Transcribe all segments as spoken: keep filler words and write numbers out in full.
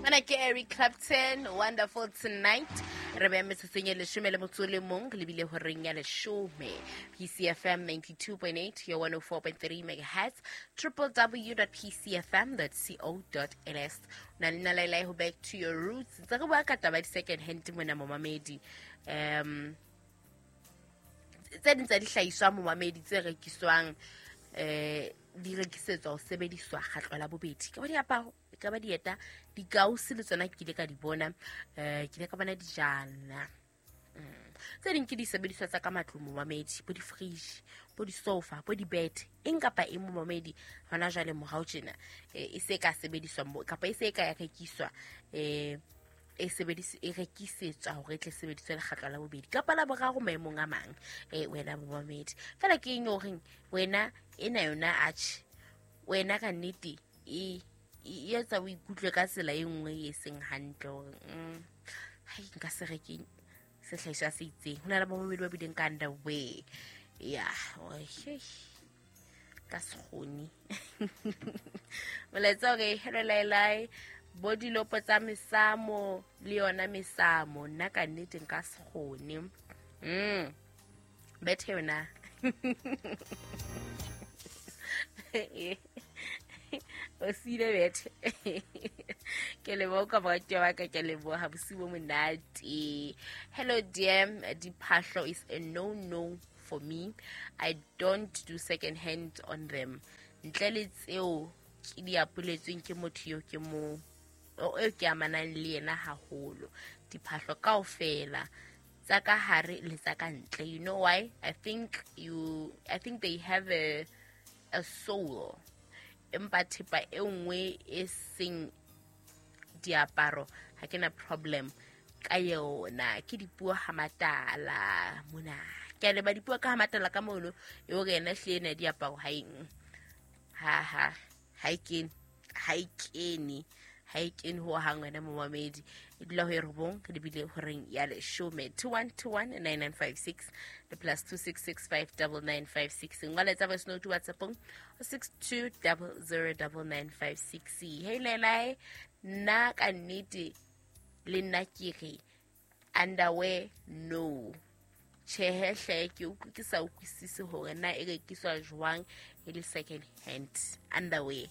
Ana ke Eric Clapton, Wonderful Tonight. Re beya metsotsong e leshome le motso o le mong re lebile horeng ya leshome. P C F M ninety-two point eight, your one oh four point three megahertz, triple w dot p c f m dot co dot l s. Na le nna Lailai ho back to your roots. Tse re bua ka taba ya di-second hand mona momamedi. Um, tse ding tsa dihlahiswa momamedi tse rekiswang, eh, di rekisetswa ho sebediswa kgatlo la bobedi. Ka ba diaparo, ka ba dieta, dikausi le tsona ke ile ka di bona, eh, ke ile ka bona dijana. Mm. Tse ding ke disebediswa tsa ka matlung momamedi, bo di-fridge, bo di-sofa, bo di-bed, eng kapa eng momamedi hona jwale morao tjena, eh, e se ka sebediswa mo, kapa e se ka ya rekiswa, eh, e sebedis-, e rekisetswa hore e tle sebediswe lekgetlo la bobedi kapa la boraro maemong a mang, eh, wena momamedi. Fela ke eng horeng wena ena yona atjhe, wena ka nnete e, e etsa o ikutlwe ka tsela e nngwe e seng hantle hore, mm, hai, nka se reke sehlahiswa se itseng. Ho na le bomamedi ba bileng ka underwear. Ya, hore, hei, ka se kgone. Molaetsa hore, hello Lailai, bo dilopo tsa mesamo le yona mesamo, nna ka nnete nka se kgone. Mm. Bethe yona. O siile bethe. Ke leboha ka moratuwa wa ka, ke leboha bosiu bo monate. Hello dear, diphahlo is a no no for me. I don't do second hand on them. Ntle le tseo ke di apoletsweng ke motho eo ke mo, o eo ke amanang le yena haholo. Diphahlo kaofela tsa ka hare le tsa ka ntle. You know why? I think you, I think they have a, a soul. Empa thepa e nngwe e seng diaparo ha ke na problem ka yona. Ke dipuo ha matala mona. Ke a leba dipuo ka ha matala ka mono, e hore yena hle ena diaparo ha eng. Ha, ha, ha e kene, ha e kene, ha e kene ho hang wena momamedi. E dula ho e robong, re lebile horeng ya leshome. two one two one nine nine five six, le plus two six six five double nine five six. Ngola tsa voice note WhatsApp-ong, six two double zero double nine five six. Hey Lailai, nna ka nnete le nna ke re underwear no. Tjhehe hle, ke utlwe ke sa utlwisise hore na e rekiswa jwang e le second hand underwear.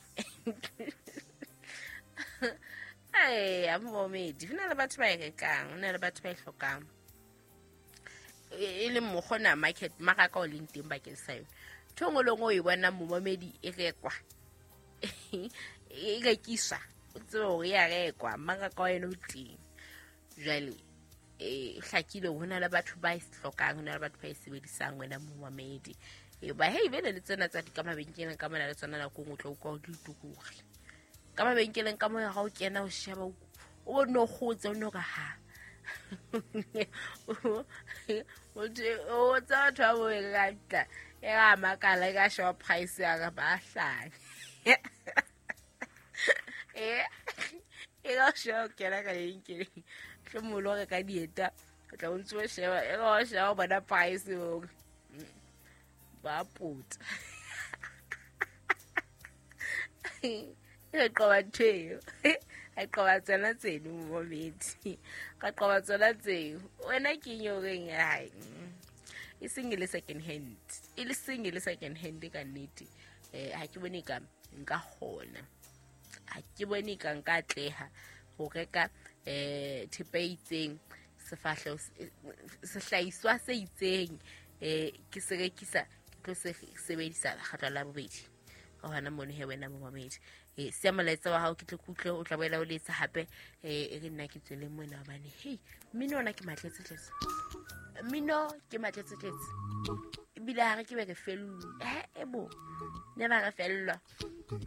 Ai, a momedi, ho na le batho ba e rekang, ho na le batho ba e hlokang. E, e le mokgwa ona market, mmaraka o leng teng bakeng sa yona. Ntho e nngwe le nngwe o e bonang momamedi e rekwa, e rekiswa, o tsebe hore e a rekwa, mmaraka wa yona o teng. Jwale, e hlakile hore ho na le batho ba e hlokang, ho na le batho ba e sebedisang wena momamedi. E ba hei, bene le tsena tsa di ka mabenkeleng ka mona le tsona nako e nngwe o tla utlwa di tukure. Ka mabenkeleng ka mona ha o kena o sheba, o bone o kgotse, o no re ha. Motho o tsa batho ba bo rata, e ra makala, e ka sheba price ya ka ba hlanya. E, e ka sheba o kena ka lebenkeleng, mohlomong o lo reka dieta, o tla o ntso o sheba, e ka o sheba o bona price o, ba puta. E qoba ntho eo. Ha e qoba tsona tseno, momamedi. Ka qoba tsona tseo. Wena ke eng eo reng, hai, e seng e le second hand. E le seng e le second hand ka nnete. Eh, ha ke bone ka nka kgona. Ha ke bone ka nka atleha ho reka, eh, thepa e itseng, sefahleho se, sehlahiswa se itseng, eh, ke se rekisa, ke tlo se sebedisa lekgetlo la bobedi. Ka hona mono he wena momamedi. Eh, siya molaetsa wa hao ke tle ke utlwe, o tla boela o letsa hape, eh, e re nna ke tswele mona hobane, hei, mmino ona ke matletsetletse. Mmino ke matletsetletse. Ebile ha re ke be re fellwe. Eh, e bo, ne ba re fellwa.